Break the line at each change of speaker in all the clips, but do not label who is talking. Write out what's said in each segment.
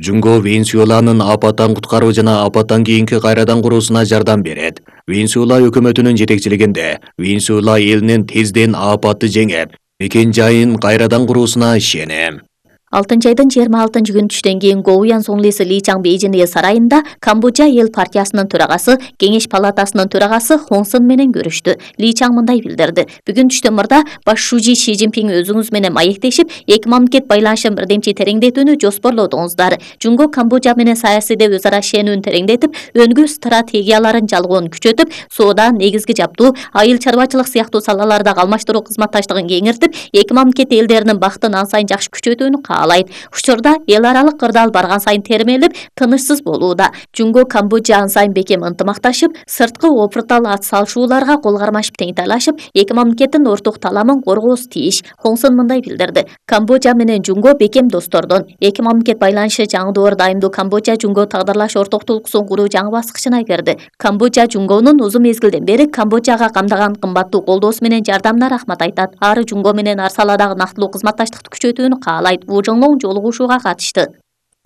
Жунго Венесуэланын апаттан куткаруу жана апаттан кийинки кайрадан куруусуна жардам берет. Венесуэла өкмөтүнүн жетекчилигинде Венесуэла элинин тезден апатты жеңип, мекен жайын кайрадан куруусуна ишенем.
6-айдын 26 күнү түштөн кийин Гоуян Сонглиси Ли Чаң Бейжин эл сарайында Камбоджа эл партиясынын төрагасы, Кеңеш палатасынын төрагасы Хон Сын менен көрүштү. Ли Чаң мындай билдирди: "Бүгүн түштөн мурда башчы Ши Цзиньпин өзүңүз менен маектешип, эки мамлекет байланышын бирдемчи тереңдетүүнү жоспорлодуңуздар. Жунго Камбоджа менен саясийде өз ара ишенүүнү тереңдетип, өнгүү стратегияларын жалгоон күчөтүп, соода, негизги жаптуу, айыл чарбачылык сыяктуу салалардагы алмаштыруу кызматташтыгын кеңиртип, эки мамлекет элдеринин бактын ан сайын жакшы күчөтүүнү каалайт. Учурда эл аралык кырдаал барган сайын термелип, тынычсыз болууда. Жунго Камбоджа ан сайын бекем ынтымакташып, сырткы опуртал ат салышууларга кол кармашып теңтайлашып, эки мамлекеттин орток таламын коргоосу тийиш." Хон Сын мындай билдирди: "Камбоджа менен Жунго бекем достордон. Эки мамлекет байланышы жаңы дайымдуу Камбоджа Жунго тагдырлаш ортоктулуксун куруу жаңы баскычына кирди. Камбоджа Жунгонун узун мезгилден бери Камбоджага камдаган кымбаттуу колдоосу менен жардамына рахмат айтат. Ары Жунго менен ар саладагы нактылуу кызматташтыкты күчөтүүнү каалайт." Жолугушууга катышты.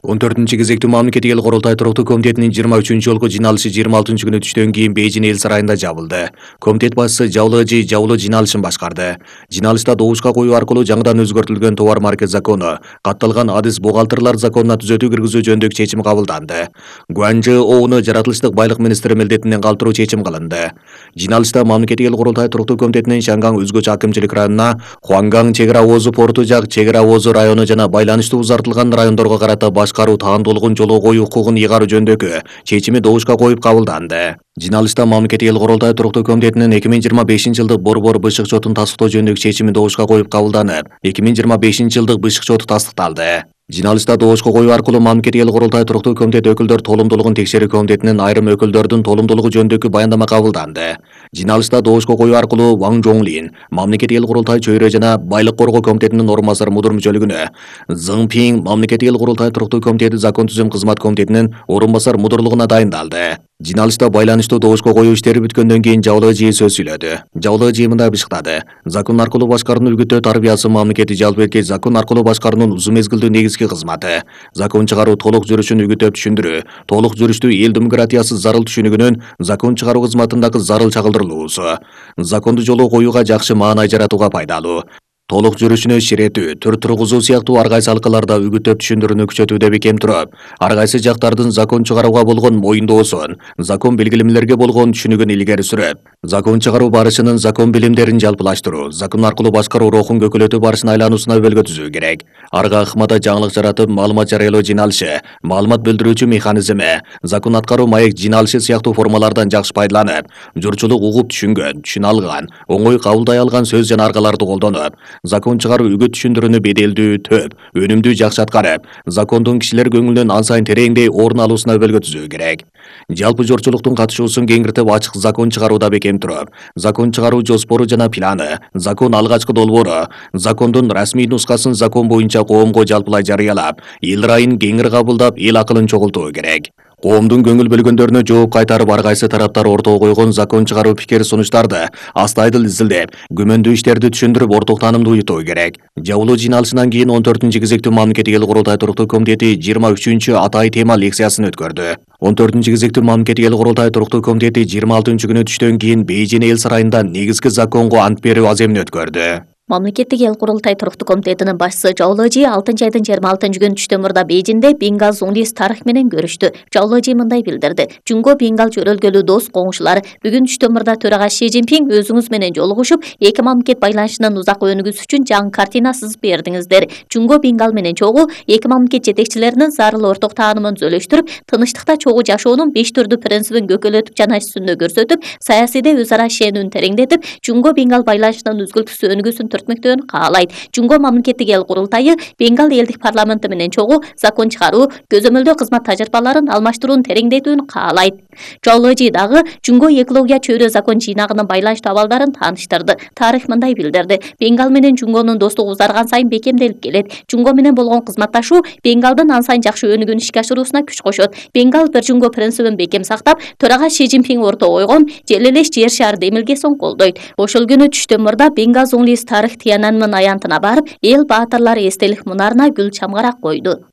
14-кезектүү мамлекеттик эл курултай туруктуу комитетинин 23 жолку жыйналышы 26 күнү түштөн кийин Бейжин эл сарайында жабылды. Комитет башчысы Жаулы жыйналышын башкарды. Жыйналышта добушка коюу аркылуу жаңыдан өзгөртүлгөн товар марка закону, катталган адис бухгалтерлер законуна түзөтүү киргизүү жөнүндөгү чечим кабылданды. Гуанжы Оуну жаратылыштык байлык министри милдетинен калтыруу чечим кылынды. Жыйналышта мамлекеттик эл курултай туруктуу комитетинин Шангаң өзгөчө акимчилик районуна, Хуанган чек ара озу порту жак чек ара озу району жана байланыштуу узартылган райондорго карата башкаруу таандуулугун жолго коюу укугун ыйгаруу жөнүндөгү чечими добушка коюп кабылданды. Жыйналышта мамлекеттик эл курултай туруктуу комитетинин 2025-жылдык борбор бышык чотун тастыктоо жөнүндөгү чечими добушка коюп кабылданып, 2025-жылдык бышык чоту тастыкталды. Жыйналышта добушка коюу аркылуу мамлекеттик эл курултай туруктуу комитет өкүлдөр толумдуулугун текшерүү комитетинин айрым өкүлдөрдүн толумдуулугу жөнүндөгү баяндама кабылданды. Жыйналышта добушка коюу аркылуу Ван Жоңлин мамлекеттик эл курултай чөйрө жана байлык коргоо комитетинин орун басары мудур мүчөлүгүнө, Зың Пин мамлекеттик эл курултай туруктуу комитети закон түзүм кызмат комитетинин орун басар мудурлугуна дайындалды. Жыйналышта байланыштуу добушка коюу иштери бүткөндөн кийин Жаулы сөз сүйлөдү. Жаулы мындай бышыктады: "Закон аркылуу башкаруунун үгүттөө тарбиясы мамлекети жалпы эркек закон аркылуу башкаруунун узун мезгилдүү негизги кызматы. Закон чыгаруу толук жүрүшүн үгүттөп түшүндүрүү, толук жүрүштүү эл демократиясы зарыл түшүнүгүнүн закон чыгаруу кызматындагы зарыл чагылдырылуусу. Законду жолго коюуга жакшы маанай жаратууга пайдалуу. Толук жүрүшүнө ширетүү, түр тургузуу сыяктуу ар кайсы алкаларда үгүттөп түшүндүрүүнү күчөтүүдө бекем туруп, ар кайсы жактардын закон чыгарууга болгон моюндоосун, закон белгилемелерге болгон түшүнүгүн илгери сүрөп, закон чыгаруу барышынын закон билимдерин жалпылаштыруу, закон аркылуу башкаруу рухун көкөлөтүү барышын айлануусуна өбөлгө түзүү керек. Арга ыкмада жаңылык жаратып, маалымат жарыялоо жыйналышы, маалымат билдирүүчү механизми, закон аткаруу маек жыйналышы сыяктуу формалардан жакшы пайдаланып, журтчулук угуп түшүнгөн, түшүнө алган, оңой кабылдай алган сөз жана аргаларды колдонуп, закон чыгаруу үгүт түшүндүрүүнү беделдүү, төп, өнүмдүү жакшы аткарып, закондун кишилер көңүлүнөн ан сайын тереңдей орун алуусуна өбөлгө түзүү керек. Жалпы журтчулуктун катышуусун кеңиртип, ачык закон чыгарууда бекем туруп, закон чыгаруу жоспору жана планы, закон алгачкы долбоору, закондун расмий нускасын закон боюнча коомго жалпылай жарыялап, эл райын кеңири кабылдап, эл акылын чогултуу керек. Коомдун көңүл бөлгөндөрүнө жооп кайтарып, ар кайсы тараптар ортого койгон закон чыгаруу пикир сунуштарды астайдыл изилдеп, күмөндүү иштерди түшүндүрүп, орток таанымды уютуу керек. Жабылуу жыйналышынан кийин 14-кезектүү мамлекеттик эл курултай туруктуу комитети 23 атай тема лекциясын өткөрдү. 14-кезектүү мамлекеттик эл курултай туруктуу комитети 26 күнү түштөн кийин Бейжин эл сарайында негизги законго ант берүү аземин өткөрдү.
Мамлекеттик эл курултай туруктуу комитетинин башчысы Жаулы 6-айдын 26 күнү түштөн мурда Бейжинде Бенгал Зуңлис тарых менен көрүштү. Жаулы мындай билдирди: "Жунго Бенгал жөрөлгөлүү дос коңшулар. Бүгүн түштөн мурда төрага Ши Цзиньпин өзүңүз менен жолугушуп, эки мамлекет байланышынын узак өнүгүүсү үчүн жаңы картина сызып бердиңиздер. Жунго Бенгал менен чогуу эки мамлекет жетекчилеринин зарыл орток таанымын түзөлүштүрүп, тынычтыкта чогуу жашоонун 5 түрдүү принцибин көкөлөтүп жана үстүндө көрсөтүп, саясийде өз ара ишенүүнү тереңдетип, Жунго Бенгал байланышынын үзгүлтүксүз өнүгүүсүн түртмөктөөнү каалайт. Жунго мамлекеттик эл курултайы Бенгал элдик парламенти менен чогуу закон чыгаруу, көзөмөлдөө кызмат тажрыйбаларын алмаштырууну тереңдетүүнү каалайт." Жаулы дагы Жунго экология чөйрө закон жыйнагынын байланыштуу абалдарын тааныштырды. Тарых мындай билдирди: "Бенгал менен Жунгонун достугу узарган сайын бекемделип келет. Жунго менен болгон кызматташуу Бенгалдын ан сайын жакшы өнүгүүнү ишке ашыруусуна күч кошот. Бенгал бир Жунго принцибин бекем сактап, төрага Ши Цзиньпин ортого койгон жел элеш жер шаар демилгесин колдойт." Ошол күнү түштөн мурда Бенгал Зуңлис тарых Тиянанмын аянтына барып, эл баатырлары эстелик мунарына гүл чамгарак койду.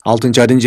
6-айдын